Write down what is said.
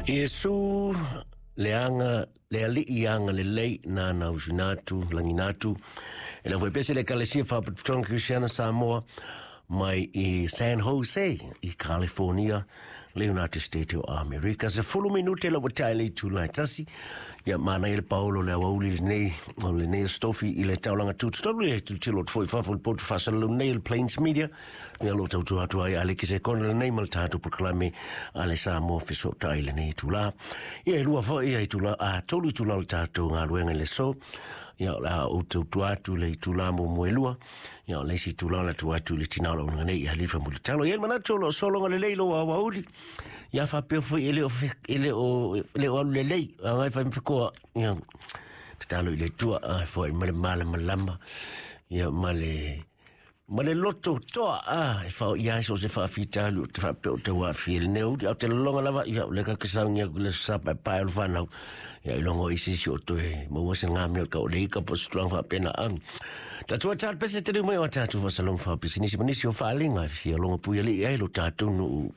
Iesu le aga le alii agalelei nāna usuina atu lagiina atu e le aufaipese le Ekalesia Faapotopotoga Kerisiana Samoa mai i San Jose i California le United States o Amerika. 10 minute la ua tae le itula e 1. Ia manaia le paolo le aoauli lenei o lenei stofi i le taulaga tutotonu e tilotilo atu foi i fafo i le potu faasalalau nei o le Plains Media. Ia o lo o tautua atu ai Aleki Sekona lenei ma le tatou polokalame a le Samoa Fesootai i lenei itula. Ia e 2 foi ia itula, a 3 itula o le tatou galuega i le aso. Ia o le a ou tautua atu i le itula muamua e 2. Ia o le isi itula o le atu atu i le tina o le auaunaga nei ia Halifa Mulitalo. Ia e manatu o lo o sologa lelei lou aoauli. Ia faapea foi e le o e le o e le o alu lelei. Agai fai ma fekoa. Ia tatalo i le Atua a foai ma le malamalama. Ia ma le ma le loto toa a e whao i ai so se whaafitalu o te whaapea o te wāwhi e lenei uri au te lolonga lava ia o le ka kesaungi aku le sa pae pae o le whanau ia i longo i sisi o toe maua se ngā mea ka o le ika po se tulang whaapena ang tatua tātu pese te mai o tātu whasalong wha pisinisi manisi o whaalinga si a longa pui ali ai lo tātu nu.